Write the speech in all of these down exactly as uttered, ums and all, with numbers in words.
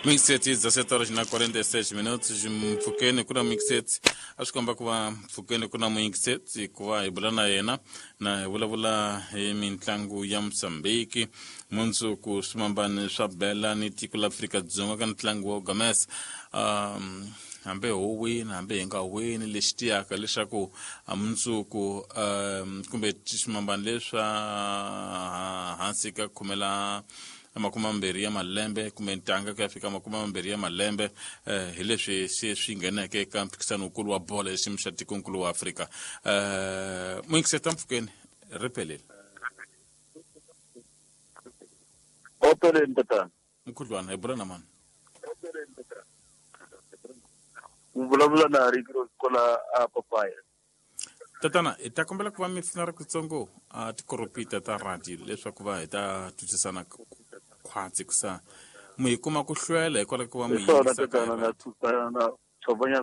Mixete dezessete horas na quarenta e seis minutos mpfukeni ku na mixete a swi komba ku va mpfukeni ku na mixete ku va hi bula na yena na hi vulavula hi mitlangu ya Mozambique mundzuku swimambani swa bela ni tiko la Afrika-Dzonga ka ntlangu wa Gamesa um hambi ho wina hambi hi nga wini lexi tiyaka leswaku mundzuku um kumbe swimambani leswa hansi ka khumela makumi mambirhi ya malembe kumbe ntanga ku ya fika makumi mambirhi ya malembe eh, hi leswi se swi ngheneke eka mphikisano wukulu wa bolo ya xiyimo xa tikonkulu wa Afrika eh muyingiseta mpfukeni ri pelele Opeleni tatana mkhudlwana hi bula na mani u vulavula na Ricky kola a papaya tatana hi ta kombela ku va mi pfuna ri kutsongo a tikoropita ta radio leswaku va hi ta twisisana khwatsi kusa mu hi kuma ku hlwela hikwalaho ku va mu hi swona yingisa ka tatana na radio. thusana na tshovanya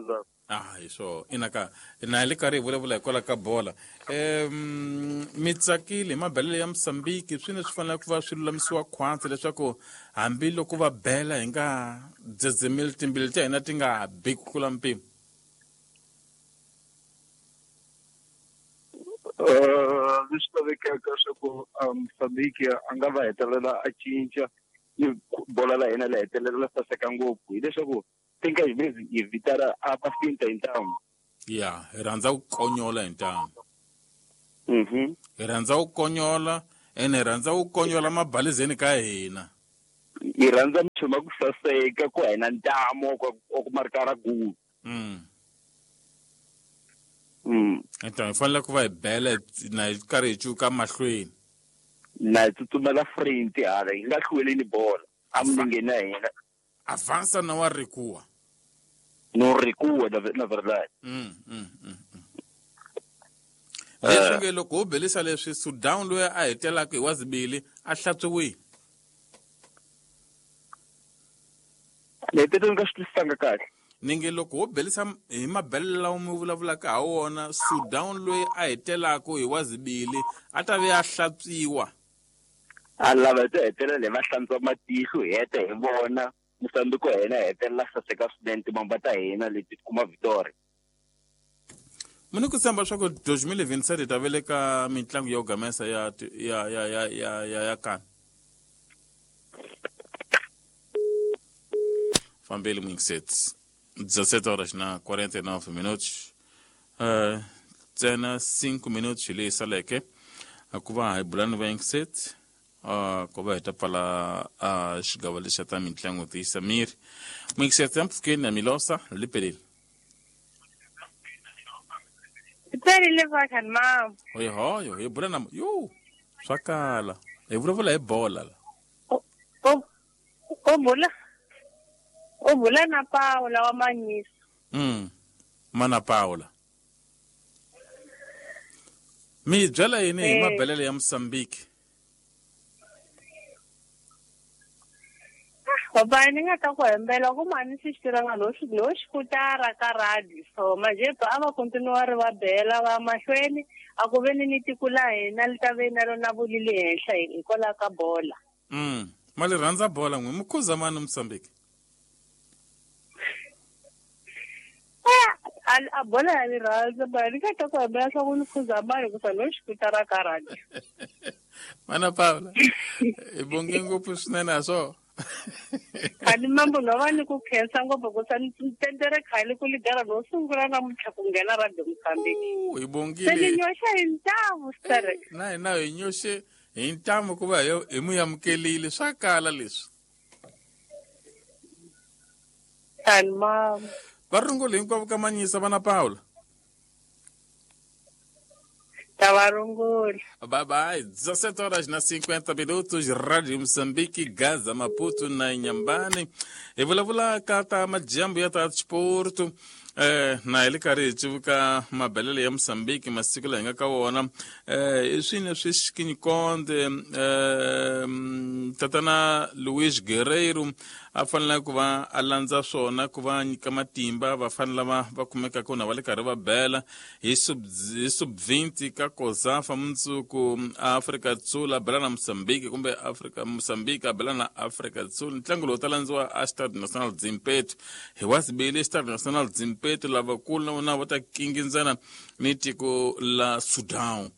ah hi swona ina ka na hi le karhi hi vulavula hikwalaho ka bola um mi tsakile hi mabelelo ya Mozambique swi ne swi fanele ku va swi lulamisiwa khwatsi leswaku hambiloko va bela hi nga dzedzemeli timbilu ta hina ti nga bi ku tlula mpimo Eh leswi lavekaka swa ku Mozambique a nga va hetelela a cinca ni bola la hina la hetelela la saseka ngopfu hileswaku tinka hi hi vitana a va finta hi ntamu ya hi rhandza ku konyola hi ntamu mhm hi rhandza ku konyola ene hi rhandza ku konyola mabalizeni ka hina hi rhandza minchumu ya ku saseka ku hina ntamu wa ku marika ra goal mm mm enta hi fanele ku va hi bela na hi karhi hi cuka mahlweni na hi tsutsumela front hala hi nga hlweleni bola a milengeni ya hina avança na wa recua no recua na na verdade mm mm mm mm. leswi nge loko ho belisa leswi Sudan loyi a hetelaka hi wa zibili a hlantswiwile ni hetelele ni nga swi twisisanga kahle ni nge loko ho belisa hi mabelelo lawa mi vulavulaka ha wona Sudan loyi a hetelaka hi wa zibili a ta ve a hlantswiwa a lava hi to hetelela hi va hlantswa matihlo hi heta hi vona Mozambique wa hina hi hetelela saseka swinene timamba ta hina leti kuma victory mi ni ku tshemba swa ku twenty twenty-seven hi ta veleka mitlangu ya ku gamesa ya ya ya ya ya ya ya kani fambeli muyingiseti dezessete horas na quarenta e nove minutos uh, ntsena cinco minutos leyi saleke ku va hi bula ni vayingiseti uh, ku va hi ta pfala uh, xigava lexi xa ta mitlangu tiyisa miri muyingiseti ya mpfukeni na milosa li peleli Pelile vakhani mama. Hoyo hoyo hi bula na yo swa kala hi vulavula hi bola la O o bula o bula na Paula wa Manyisa. Mm mana Paula mi byela yini hi mabelelo ya Mozambique? Baba ni nga ta ku hembela ku mani xi tiranga no xi no xikutara ka radio so manje a va continue ri va bela va mahlweni a ku ve ni ni tiko la hina li ta ve na rona vulili henhla hikwalaho ka bola. Mm mali rhandza bola n'wi mukhuza mani Mozambique? A a bola ya ni rhandza ba ni nga ta ku hembela swa ku ni khuza mani ku sa no xikutara ka radio. Mana Paula hi bonge ngopfu swinene a swo khani mambo no va ni ku khensa ngopfu ku sa tendere khale ku ligara no sungula namuntlha ku nghena radio Mozambique. Hi bongile se ni nyoxa hi ntamu sterek na hina hi nyoxe hi ntamu ku va hi mu amukelile swa kala leswi khani mama va rungula hinkwavo ka Manyisa vana Paula. Tavarungula. Bye bye. dezessete horas na cinquenta minutos, Rádio Moçambique, Gaza, Maputo na Inhambane. Hi vulavula ka ta majambu ya ta sport. Eh na hi le karhi hi civuka mabelele ya Mozambique masiku laha hi nga ka wona. Eh i swini leswi Xikinyikonde eh tatana Luis Guerreiro a fanele ku va a landza swona ku va nyika matimba vafana lava va kumekaka na va le karhi va bela hi sub hi sub twenty ka Kozafa mundzuku Afrika Dzonga bela na Mozambique kumbe Afrika Mozambique bela na Afrika Dzonga. Ntlangu lowu ta landziwa a Stade National Zimpeto hi wasibili Stade National Zimpeto lavakulu na vona va ta kingindzana ni tiko la Sudan.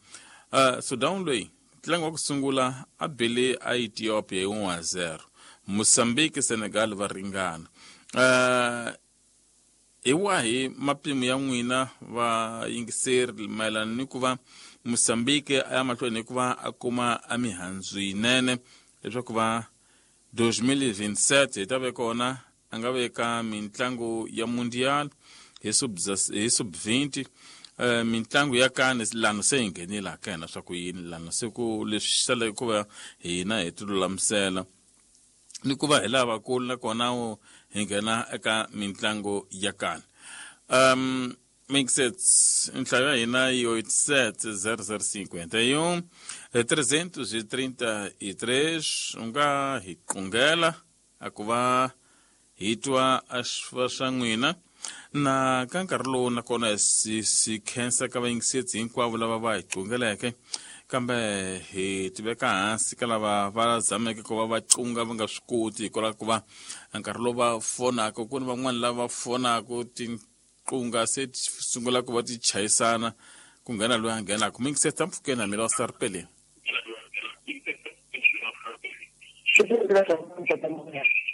Uh, Sudan loyi ntlangu wa ku sungula a bele a Ethiopia hi one zero. Mozambique Senegal va ringana. Uh, hi wahi mapimo ya n'wina va yingiseri mayelana ni ku va Mozambique a ya mahlweni ku va a kuma a mihandzu yinene leswaku va twenty twenty-seven hi ta ve kona a nga veka mintlangu ya mundial hi sub hi sub twenty uh, mintlangu ya kane lano se hi nghenile ka hina swa ku yini lano se ku leswi saleke ku va hina hi ti lulamisela ni ku va hi lavakulu nakona hi nghena eka mintlangu ya kane. Um mixets nhlayo ya hina yi oito sete zero zero cinquenta e um trezentos e trinta e três u nga hi qungela a ku va hi twa a swa swa n'wina na ka nkarhi lowu nakona si si khensa ka vayingisetsi hinkwavo lava va hi qungeleke kambe hi tiveka hansi ka lava va zameke ku va va cunga va nga swi koti hikwalaho ku va nkarhi lowu va fonaka ku ni van'wani lava fonaka tiqunga se ti sungula ku va ti chayisana ku nghena loyi a nghenaka mingisetsa mpfhukeni na mina wa saripeleni.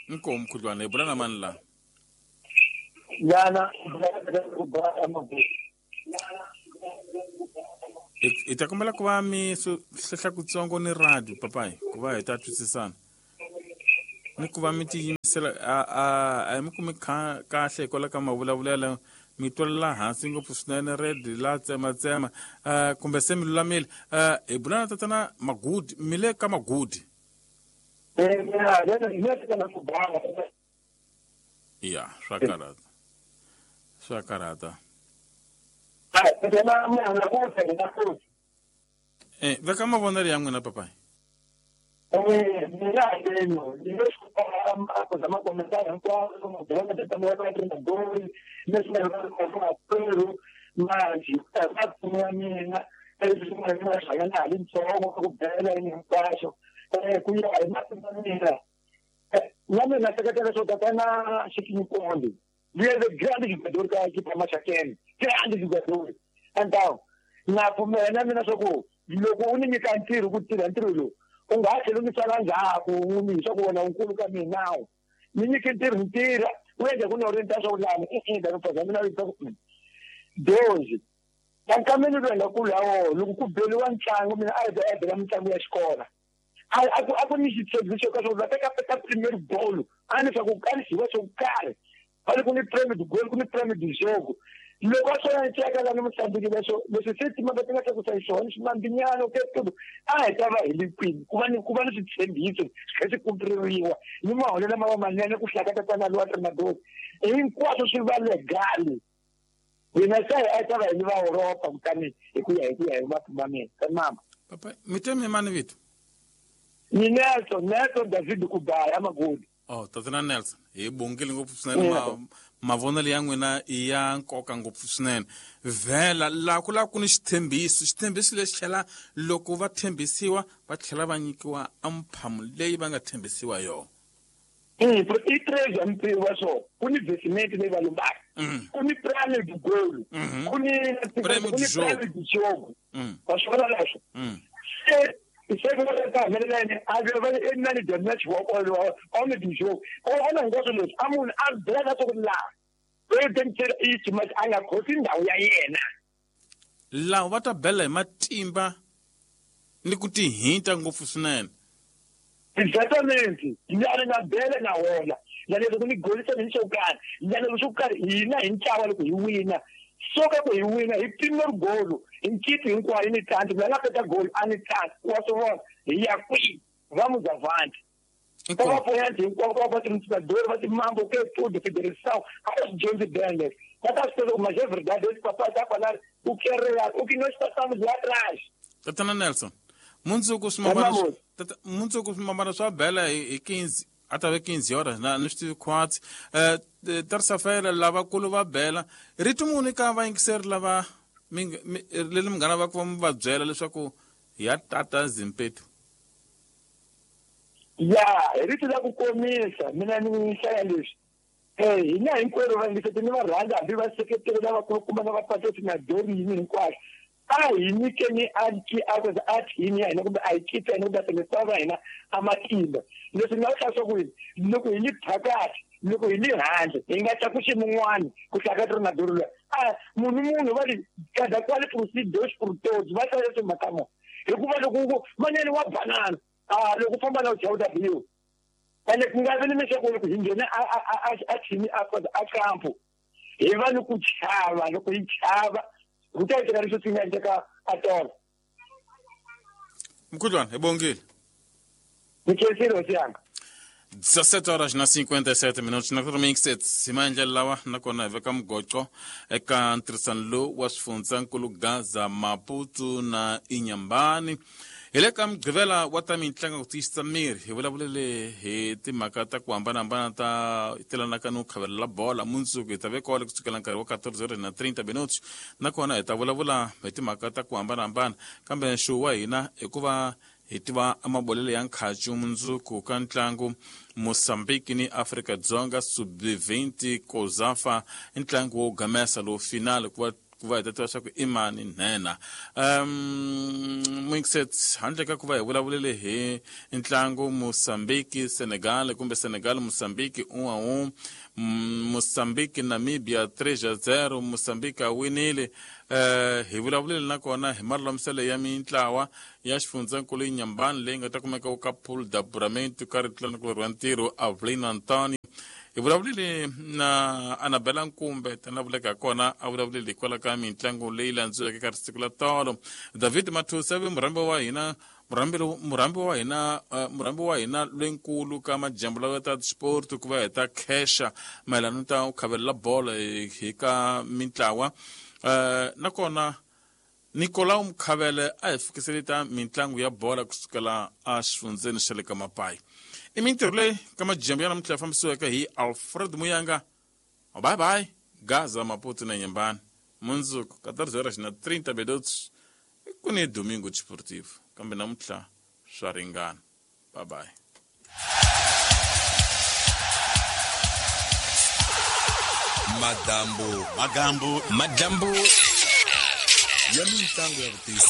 Inkomu mkhudlwana hi bula na mani laha? Yana hi ta kombela ku va mi hlehla kutsongo ni radio papayi ku va hi ta twisisana ni ku va mi tiyimisela a a a hi mi kumi kahle hikwalaho ka mavulavulelo mi twelela hansi ngopfu swinene red la tsematsema uh, kumbe se mi lulamile. Uh, hi bula na tatana Magudi mi le ka Magudi. Ya swa karhata swa karhata. Eh veka mavonelo ya n'wina papayi. Grande jogador ka equipe Maxakeni, grande jogador. Então, na pfumela mina swa ku loko u ni nyika ntirho ku tirha ntirho lowu u nga ha tlheli u ni sala ndzhaku u ni swa ku wena unkulu ka mina ni nyike ntirho ni tirha u endla ku ni orienta swa ku lani i i ta mina ta ku dozi nkameni loyi nga kulu hawo loko ku beliwa ntlangu mina a hi ta bela mitlangu ya xikolo a ku a ku ni xitshembiso ka swa ku va teka ka premier goal a ni swa ku kanisiwa swo karhi va ku ni premier goal ku ni premier du jogo loko a swona ni teka lani Mozambique leswo leswi se timhaka ti nga tlakusa hi swona swimambinyana ke tudu a hi ta va hi le kwini ku va ni ku va ni switshembiso swi kha swi kumpririwa ni maholelo lama va manene ku hlaka tatana lowa Tremadori hinkwaswo swi va legal hina se a hi ta va hi ni va Europa kutani hi ku ya hi ku ya hi mapfumba mina ka mama papa mi te mi mani vito ni Nelson Nelson David Kubaya Magodi. Oh tatana Nelson hi bongile ngopfu swinene ma mavonelo ya n'wina i ya nkoka ngopfu swinene vhela laha ku lava ku ni xitshembiso xitshembiso lexi tlhela loko va tshembisiwa va tlhela va nyikiwa amphamu leyi va nga tshembisiwa yona. I treasure mpiwa so ku ni investment leyi va lombaka ku ni prime du goal ku ni prime du jogo wa swi vona leswo se se ka humelela a ve va na ni damage wa wa on du jogo o na hinkwaswo leswi a munhu a byela swa ku laha president i ximati a nga khosi ndhawu ya yena laha va ta bela hi matimba ni ku tihinta ngopfu swinene. Exatamente ni na bela na wona na leswi ni golisa ni xo karhi na leswi swo karhi hina hi ntlawa loko hi wina soka ku hi wina hi premier goal hi nkipi hinkwayo ni tlanti la nga peta goal a ni tlanti wa swi vona hi ya kwihi va muzavanti va va poyanti hinkwavo va va timtsadori va timambo ke tudo federação a va swi dyondzi bele Va ta swi tiva ku mas é verdade esse papai tá falar o que é real, o que nós passamos lá atrás. Tatana Nelson, mundzuku swimambana mundzuku swimambana swa bela hi quinze ata ve quinze horas na ni swi tivi khwatsi. Eh terça-feira lavakulu va bela rito muni ka vayingiseri lava leri munghana va ku va mi va byela leswaku ya tata Zimpetu? Ya hi rito la ku komisa mina ni hlaya leswi eh hina hinkwerhu vayingiseri ni va rhandza hambi va seketeri lavakulukumba na vapatrisi na dorini hinkwaswo a hi nyikeni a thini ya hina kumbe a hi kipa hina kumbe a tirhisa va hina a matimba. Leswi nga vula swa ku yini loko hi li phakathi loko hi li handle hi nga tlakusi mun'wani ku hlakati ri na doro luya a munhu munhu va ri cada qual por si Deus por todos va hlaya timhaka mo hikuva loko ku manene wa banana a loko u famba na u dya u ta biwa ene ku nga vi ni leswaku loko hi nghena a a a thini a a kampo hi va ni ku chava loko hi chava ku ta endleka leswi swi nga endleka a tolo. Mkhudlwana hi bongile. Ni khensile hosi yanga. dezessete horas na cinquenta e sete minutos na kota hi maendlelo lawa nakona hi veka mugoqo eka ntirhisano lowu wa swifundzankulu Gaza, Maputo na Inhambane. Hi le ka mugqivela wa ta mitlangu ku tiyisisa miri hi vulavulele hi timhaka ta ku hambanahambana ta telanaka ni ku khavelela bola. Mundzuku hi ta veka wale kusukela nkarhi wa quatorze horas na trinta minutos nakona hi ta vulavula hi timhaka ta ku hambanahambana kambe nxuwu wa hina hikuva hi tiva amabolelo ya nkhacu mundzuku ka ntlangu Mozambique ni Afrika-Dzonga sub vinte Kozafa i ntlangu wo gamesa lowu final ku va ku va hi ta tiva swa ku i mani nhenha. Um mixet handle ka ku va hi vulavulele hi ntlangu Mozambique Senegal kumbe Senegal Mozambique um a um, Mozambique Namibia três a zero, Mozambique a winile. Uh, hi vulavulele nakona hi malulamiselo ya mintlawa ya xifundzankulu Inhambane leyi nga ta kumeka ka pool d'apuramento ka ritlanakulu ra ntirho Avelino Antonio. Hi vulavulele na Anabela Nkumbe tana vuleka kona a vulavulele hikwalaho ka mitlangu leyi landzuleke ka siku la tolo. David Mathusa ve murhambi wa hina murhambi murhambi wa hina murhambi wa hina lwenkulu ka majambu lawa ta sport ku va hi ta khesha mayelana ta ku khavelela bolo hi ka mintlawa. Uh, nakona Nicolau Mkhavele a hi fikisele ta mitlangu ya bola kusukela a xifundzeni xa le ka Mapai. I mintirho leyi ka majambu ya namuntlha ya fambisiweke hi Alfred Muyanga. Bye bye Gaza, Maputo na Inhambane. Mundzuku quatorze horas na trinta minutos ku ni Domingo Desportivo kambe namuntlha swa ringana. Bye bye. Madambu, magambu, madambu ya mitlangu ya vutisa.